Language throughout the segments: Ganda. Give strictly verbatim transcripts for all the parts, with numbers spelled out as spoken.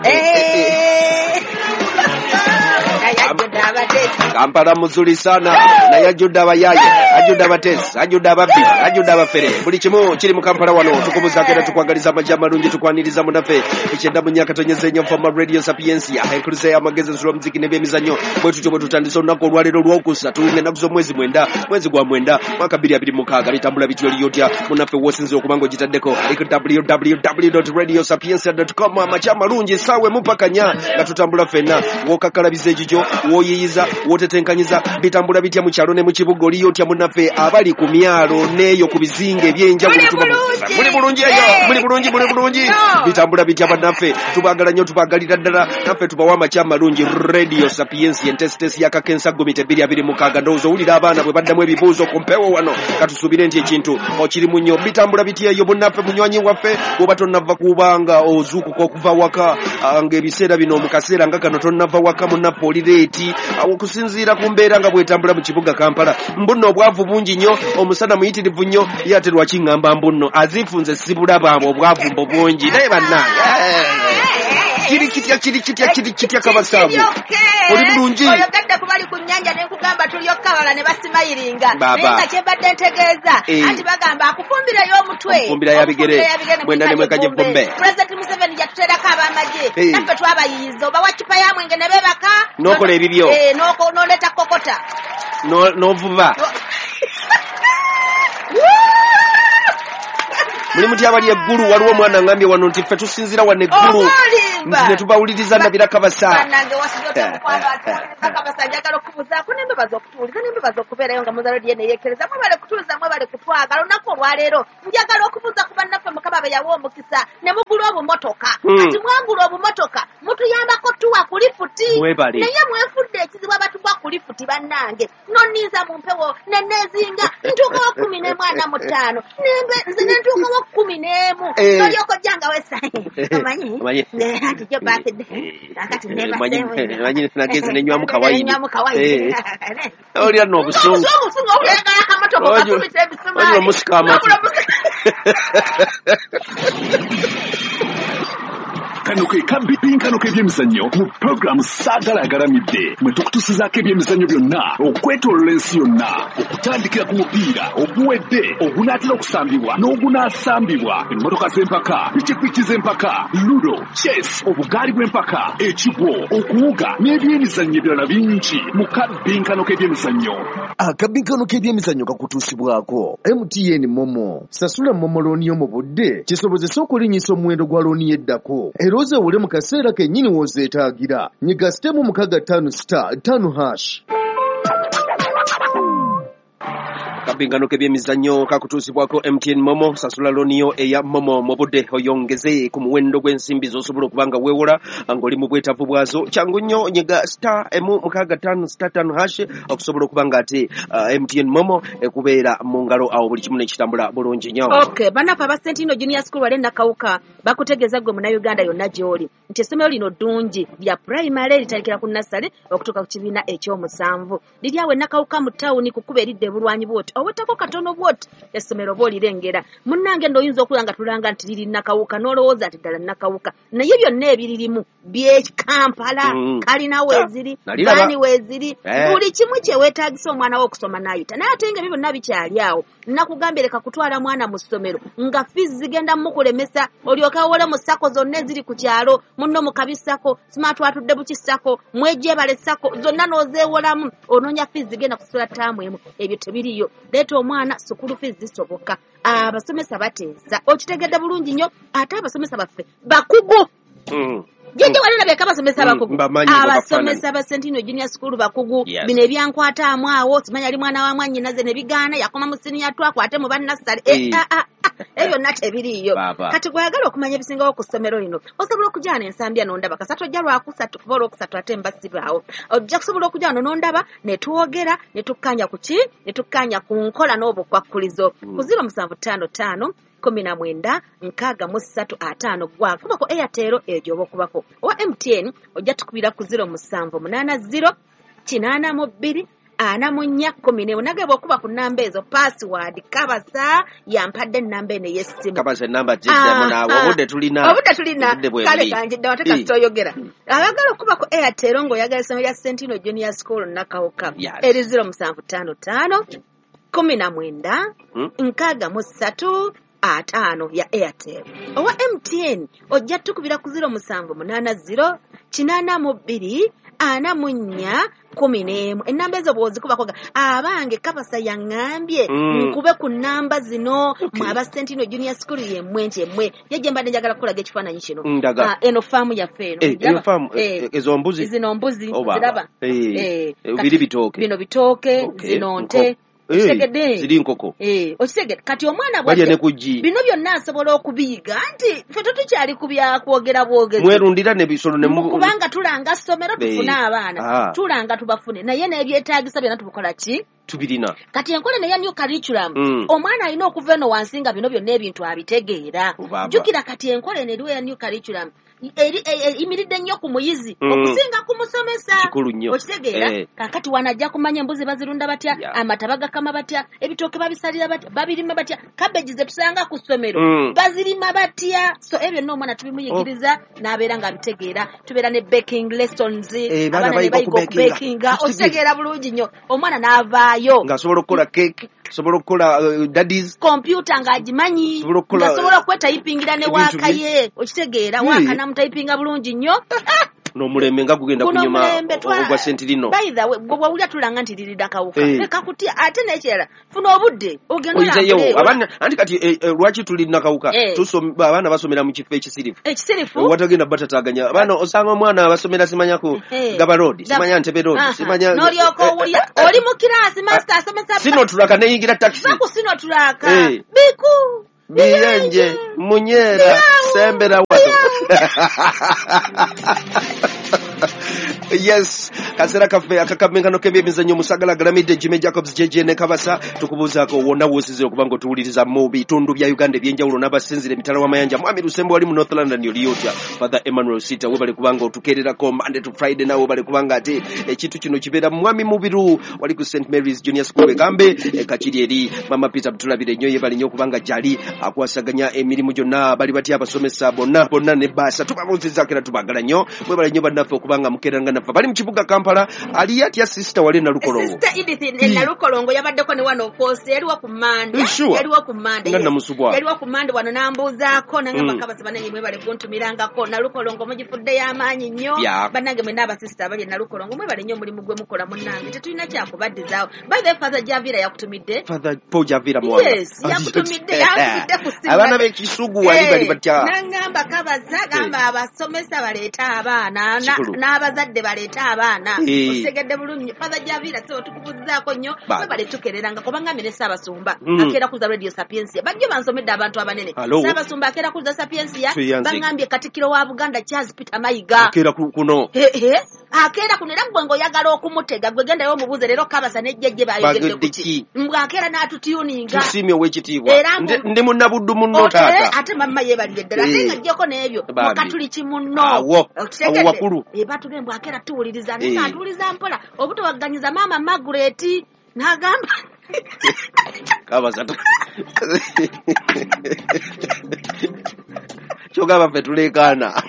Eh. Kampala muzuri sana naye ajjudde abayaaye, ajjudde abateesi, ajjudde ababbi, ajjudde abafere, buli kimu kiri mu Kampala wano. Tukubuzaako era tukwagaliza amajja amalungi, tukwaniriza munaffe ekyenda mu myaka tonyeza ennyo Nfama Radio Sapientia, enkuluza y'amagezi, ensula, omuziki n'ebyemizannyo. Bwe tutyo bwe tutandise olunaku olwaleero olwokusatu ng'ennaku z'omwezi mwenda, mwezi gwa mwenda, mwaka bbiri abiri mukaaga. Bitambula bityo liyotya munaffe wosinzira okuba nga ogitaddeko ali ku W W W radio sapientia com. Amakya amalungi, essaawa emu paka nnya nga tutambula ffenna, w'okakkalabiza ekikyo, w'oyiyiza, w'otetenkanyiza. Bitambula bitya mu kyalo ne mu kibuga? Oliyotya munnaffe abali ku myalo n'eyo ku bizinga ebyenjawulo? Muli Tuba- bulungi. Muli bulungi eyo? Eh. Muli bulungi, muli bulungi. No. Bitambula bitya bannaffe? Tubaagala nnyo, tubaagalira ddala. Naffe tubawa amakya amalungi. Radio Sapientia, entesitesi yakakensa gumite bbiri abiri mukaaga. Ndowooza owulira abaana bwe baddamu ebibuuzo ku mpewo wano, katusuubire nti ekintu okirimu nnyo. Bitambula bitya eyo bunnaffe, munywanyi waffe, bw'oba tonnava kubanga ozuukuka okuva waka, ah, ng'ebiseera bino, mu kaseera nga kano tonnava waka, munnaffe oli late awo okusinziira ku mbeera nga bwetambula mu kibuga Kampala. Mbunno obwavu bungi nnyo, omusana muyitirivu nnyo. Ye ate lwaki ŋŋamba mbunno azifunze sibulaba obwavu mbo bungi? Naye bannange, eh, kiri kitya, kiri kitya, kiri kitya kabasaabu? Oli bulungi? Oyogedde ku bali ku nnyanja, ne nkugamba tulyoka abala ne basimayiringa. Baba. Naye nga kyembadde ntegeeza, Eh. anti bagamba akufumbirayo omutwe, Okufumbira ya bigere, okufumbira ya bigere, mwenda ne mwekanye vumbe. Pulezidenti Museveni yatuteerako ab'amagye. Eh. Naffe twabayiyiza, obawa cupa ya mwenge ne beebaka. N'okola ebibyo. Eh, n'oko- n'oleeta kokota. No- n'ovuba Muli muti abali eggulu? Waliwo omwana ngambye wano nti ffe tusinzira wano eggulu Oba nti ne tubawuliriza nabira kabasa. Bannange, wasibyotebukabasa. Njagala okubuzaako nembebaza okutuwuliza, nembebaza okubeerayo nga muza rediyo neyekereza. Mwebale kutuuliza, mwebale kutwagala. Olunaku olwaleero njagala okubuuza ku bannaffe Mukama be yawa omukisa ne mugula obumotoka. Hmm. Kati mwagula obumotoka, mutuyambako tuwa ku lifuti. Mwebale. Naye mwefudde ekizibu abatugwa ku lifuti. Bannange, nonniiza mu mpewo neneezinga ntuukawo kumi n'emu ana mu ttaano. Nembe- nze nentuukawo kumi n'emu. Eh. Nolyoka ojja nga wesa omanyi. Omanyi. Ne- anti jo birthday kakati. Manyi- manyi nagenze nenywamu kawayini. Nenywamu kawayini. Eh. Olira nno obusungu. Obusungu, owulira akamotoka Oyo- kakubita ebisumaali. Oyo omusika amatu. Wabula omusika- Kano ke kabipinkano k'ebyemizannyo mu puroguramu Saagala Agalamidde, mwe tukutusizaako ebyemizannyo byonna okwetoolola ensi yonna, okutandikira ku mupiira oguwedde, ogunaatera okusambibwa n'ogunaasambibwa, emmotoka z'empaka, pikipiki z'empaka, ludo, chess, obugaali bw'empaka, ekigwo, okuwuga n'ebyemizannyo ebirala bingi mu kabinkano k'ebyemizannyo. Akabinkano k'ebyemizannyo kakutuusibwako M T N MoMo. Sasula MoMo looni yo mu budde kisobozese okulinnyisa omuwendo gwa looni y'eddako, era ozewole mu kaseera kennyini w'ozeetaagira. Nyiga star emu mukaaga ttaano star ttaano hash. Kabinkano k'ebyemizannyo kakutuusibwako M T N MoMo. Sasula looniyo eya MoMo mu budde, oyongeze ku muwendo gw'ensimbi z'osobola okuba nga weewola ng'oli mu bwetaavu bwazo. Kyangu nnyo, nyiga star emu mukaaga ttaano star ttaano hash okusobola okuba nga ate uh, M T N MoMo ekubeera mu ngalo awo, buli kimu nekitambula bulungi nnyo. Okay, bannaffe aba Sentino Junior School wali Nakawuka bakutegeeza gwe Munnayuganda yonna gy'oli nti essomero lino ddungi lya primary, litandikira ku nursery okutuuka ku kibiina ekyomusanvu. Liri awo e Nakawuka mu tawuni, ku kkubo eridda ebulwanyi bwoti, owetako katono bwoti essomero oba olirengera. Munnange nno oyinza okuba nga tulanga nti liri Nakawuka n'olowooza nti ddala Nakawuka, naye byonna ebiririmu byekampala. Mm. Kalina weeziri, Naliraba. baani weeziri, Eh. buli kimu kyeweetaagisa omwana wo okusoma n'ayita. Naye ate nga ebyo byonna bikyali awo, nakugambye leka kutwala mwana mu ssomero nga fees zigenda mukulemesa, olyoke wole mu SACCO zonna eziri ku kyalo, munno mu kabi SACCO, smart atudde buki SACCO, mwejebale SACCO, zonna n'ozeewolamu, onoonya fees zigenda kusula ttaamu emu. Ebyo tebiriyo. Leeta omwana, school fees zisoboka, abasomesa bateesa, okitegedde bulungi nnyo. Ate abasomesa baffe bakugu. Mm. Jjajja, wali olabye abasomesa Mm, abakugu? Mbamanyi. Abasomesa ba Sentino Junior School bakugu. Yes. Bino ebyankwataamu awo, simanyi ali mwana wa mwannyinaze ne bigaana, yakoma mu siniya twakwate mu bannassale. Eh. Ebyo byonna tebiriiyo. Baaba. Kati gweyagala okumanya ebisingawo ku ssomero lino, osobola okujja n'ensambya n'ondaba. Kasatu ojja lwakusatu, kuba olwokusatu ate mba sibaawo. Ojja kusobola okujja wano n'ondaba ne twogera ne tukkaanya ku ki, ne tukkaanya ku nkola n'obukwakkulizo. Mm. Ku ziro musanvu ttaano ttaano kumi na mwenda nkaaga mu ssatu ataano gwa kubako Airtel eyo oba okubako owa M T N, ojja tukubira ku ziro musanvu munaana ziro kinaana mu bbiri ana mu nnya kkumi n'emu. Nange bw'okuba ku nnamba ezo password Kabasa yampadde ennamba eno ey'essimu. Kabasa ennamba gyeddemu naawe, obudde tulina. Obudde tulina. Kale kanjidde wate kasita oyogera. Abagala okuba ku Airtel ng'oyagala essomero lya Sentino Junior School Nakawuka eri zero musanvu ttaano ttaano kumi na mwenda nkaaga mu ssatu ataano ya Airtel. Owa M T N ojja tukubira ku zero musanvu munaana zero kinaana mu bbiri ana mu nnya kumi n'emu. Ennamba ezo bw'ozikubako abange Kabasa yaŋŋambye nkube ku nnamba zino mwe aba Sentino Junior School yemmwe nti emmwe yejje mbadde njagala kukulaga ekifaananyi kino. Eno faamu yaffe eno. Eno faamu ezo mbuzi? Zino mbuzi ziraba. Biri bitooke. Bino bitooke, zino nte. Okitegedde? Ziri nkoko. Eh, okitegedde. Kati omwana bw'ajja bino byonna asobola okubiyiga nti ffe tetukyali ku bya kwogera bwogezi. Mwerundira n'ebisolo ne mu kubanga tulanga ssomero tufune abaana. Tulanga tubafune naye n'ebyetaagisa byonna tubukola ki? Tubirina. Kati enkola ne ya new curriculum omwana alina okuva eno wansi nga bino byonna ebintu abitegeera. Jjukira kati enkola eno eriwo ya new curriculum eyimiridde nnyo ku muyizi okusinga ku musomesa. Okitegeera? Kaakati wanajja kumanya embuzi bazirunda batya, amata bagakama batya, ebitooke babisalira batya, babirima batya, cabbage ze tusanga ku ssomero bazirima batya. So ebyo byonna omwana tubimuyigiriza n'abeera ng'abitegeera. Tubeera ne baking lessons, abaana ne bayiga okubakinga. Okitegeera bulungi nnyo omwana n'avaayo ng'asobola okukola cake, asobola okukola daddies, kompyuta ng'agimanyi, ng'asobola okwetayipingira ne waaka ye. Okitegeera? Waaka namutayipinga bulungi nnyo. N'omulembe nga gugenda kunyuma ogwa Sentinino. By the way, gwe bw'owulira tulanga nti liri Nakawuka leka kutya. Ate n'ekirala funa obudde ogenda olambule. Abaana anti kati lwaki tuli Nakawuka? Abaana basomera mu kifo ekisirifu. Ekisirifu? Watagenda batataaganya. Abaana osanga omwana basomera simanya ku Gaba Road, simanya Ntebe Road, simanya n'olyoka owulira oli mu kiraasi master asomesa Sinotulaka neyingira taxi. Baku Sinotulaka. Biku Biyenje Munyera Sembera wano. Yes, kaseera kaffe akakamenkano k'ebyemizannyo Musagala Galamidde Jimmy Jacobs J J ne Kabasa tukubuuzaako wonna w'osinziira okuba ng'otuwuliriza mu bitundu bya Uganda eby'enjawulo n'abasinziira emitala w'amayanja. Mwami Lusembo wali mu North London oli otya? Father Emmanuel Sita webale kubanga otukeererako Monday to Friday, nawe webale kubanga ate ekintu kino kibeera. Mwami Mubiru wali ku Saint Mary's Junior School egambe Kakiri eri Mama Peter Butulabire nnyo yebale nnyo okubanga gyali akwasaganya emirimu gyonna. Bali batya abasomesa bonna bonna ne baasa tubabuuzizaako era tubaagala nnyo. Mwebale nnyo bannaffe okubanga mukeeranga naffe. Bali mu kibuga Kampala ali atya sister wali Nalukolongo? Sister Edith Nalukolongo yabaddeko ne wano okwosi yaliwo ku Mande. Yaliwo ku Mande. Nga namusubwa. Yaliwo ku Mande wano n'ambuuzaako nangamba Kabasa bannange mwebale kuntumirangako. Nalukolongo mugifudde y'amaanyi nnyo. Bannange mwenna abasista abali e Nalukolongo mwebale nnyo omulimu gwe mukola munnange. Tetulina kyakubaddizaawo. By the way, Father Javira yakutumidde. Father Paul Javira Mwanga. Yes, yakutumidde yakutumidde ku ssimu. Abaana b'ekisugu wali bali batya? Nangamba Kabasa gamba abasomesa baleeta abaana n'abazadde baleeta abaana. Okitegedde bulungi. Father Javira so tukubuuzaako nnyo mwebale tukereranga kubanga mmere Ssaabasumba akeera kuza Radio Sapientia. Bajjo bansomedde abantu abanene. Ssaabasumba akeera kuza Sapientia bangambye Katikkiro wa Buganda Charles Peter Mayiga. Akeera kuno. Akeera kuno era gwe ng'oyagala okumutega gwe gendayo omubuuze leero Kabasa ne jjajje baayogedde ku ki. Mbwe akeera n'atutuninga. Tusiimye ow'ekitiibwa. Ndi munnabuddu munno taata. Ate mamma yeebalire ddala. Ate nga ggyeko n'ebyo mukatuliki munno. Awo awo wakulu. Batugambye mbwe akeera tuwuliriza naye ng'atuwuliza mpola obutawagganyiza maama Margaret n'agamba Kabasa kyogamba ffe tuleekaana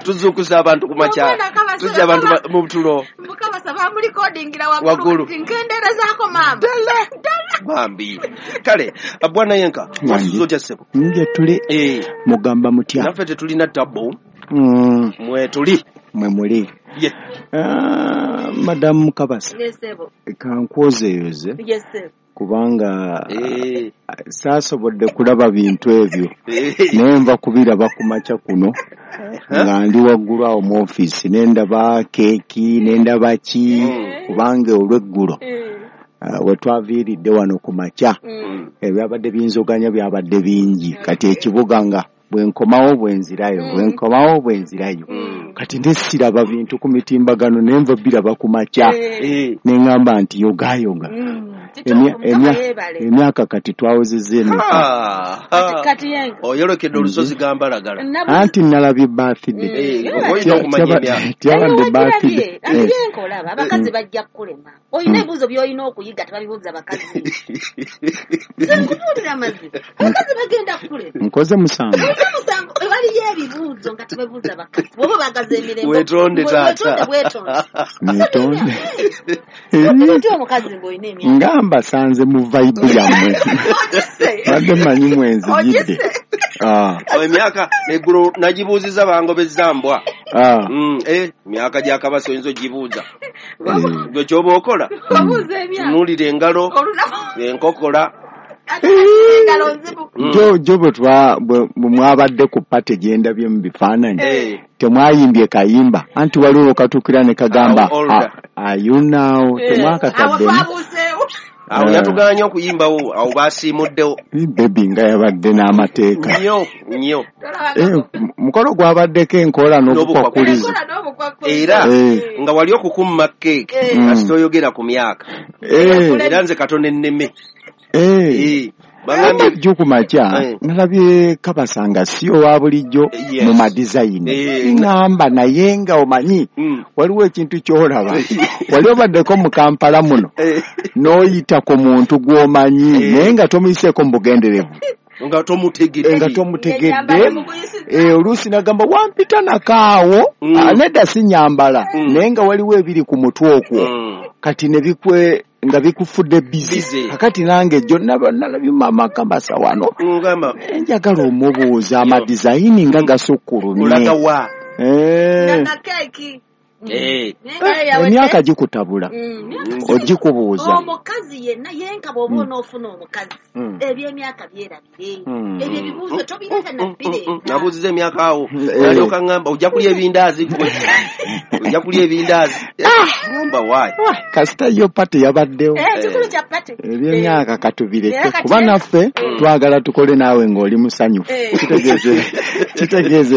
tuzuukusa abantu ku makya tujja abantu mu tulo. Mukabasa bamulikodingira waggulu nkendeerezaako maama ddala bambi. Kale bwana Yenka wasuze otya ssebo? Nje tuli mugamba mutya? Naffe tetulina tabbu mwe tuli mwe muli. Madamu Kabasa kankwozeeyoze kubanga saasobodde kulaba bintu ebyo naye nva kubiraba ku makya kuno nga ndi waggulu awo mu ofiisi ne ndaba keeki ne ndaba ki kubanga olw'eggulo we twaviiridde wano ku makya ebyabadde binzoganya byabadde bingi. Kati ekibuga nga bwe nkomawo bwe nzirayo bwe nkomawo bwe nzirayo kati nesiraba bintu ku mitimbagano ne nva biraba ku makya ne ŋŋamba nti yogaayoga. Emyaka kati twawezezza emeka. Oyolekedde olusozi gambalagala. Anti nalabye birthday. Tiyabadde birthday. Anti yenka olaba abakazi bajja kukulema. Olina ebibuuzo by'olina okuyiga tebabibuuza bakazi. Nze nkubuulira amazima. Abakazi bagenda kukulema. Nkoze musango. Nkoze musango. Waliyo ebibuuzo nga tebabibuuza bakazi. Bw'oba baagaza emirembe. Weetonde taata. Weetonde. Neetonde. Weetonde omukazi ng'olina emyaka. Nga mbasanze mu vibe yammwe. Badde mmanyi mwenzijidde. Emyaka eggulo nagibuuzizza bangobezza mbwa. Emyaka gya Kabasi oyinza ogibuuza. Gwe ky'oba okola tunuulira engalo, enkokola. Jo bwe mwabadde ku pate gye ndabye mu bifaananyi temwayimbye kayimba anti waliwo katuukira ne kagamba ayunaawo temwakataddemu. Awo yatuganye okuyimbawo awo basiimuddewo. Bebi nga yabadde n'amateeka. Nnyo nnyo. Mukolo gwabaddeko enkola n'obukwakulizo. Era nga wali okukumma keeki kasita oyogera ku myaka. Era nze katono enneme. Jjo ku makya nalabye Kabasanga si owa bulijjo mu madizayini. Ŋŋamba naye nga omanyi waliwo ekintu ky'olaba. Wali obaddeko mu Kampala muno n'oyita ku muntu gw'omanyi naye nga tomuyiseeko mu bugenderevu. Nga tomutegedde. Nga tomutegedde. Oluusi n'agamba wampita nakaawo nedda si nnyambala naye nga waliwo ebiri ku mutwe okwo kati ne bikwe nga bikufudde busy. Kakati nange jjo nalabye maama Kabasa wano njagala omubuuza amadizayini nga gasukkulumye. Olagawa. Emyaka gikutabula ogikubuuza. Omukazi yenna yenka bw'oba onoofuna omukazi eby'emyaka byerabire. Ebyo ebibuuzo tobireka na bireeta. Nabuuziza emyaka awo nalyoka ŋŋamba ojja kulya ebindaazi gwe. Ojja kulya ebindaazi. Ŋŋamba waayi. Kasita yo pate yabaddewo. Ekikulu kya pate. Eby'emyaka katubireke kuba naffe twagala tukole naawe ng'oli musanyufu. Kitegeeze kitegeeze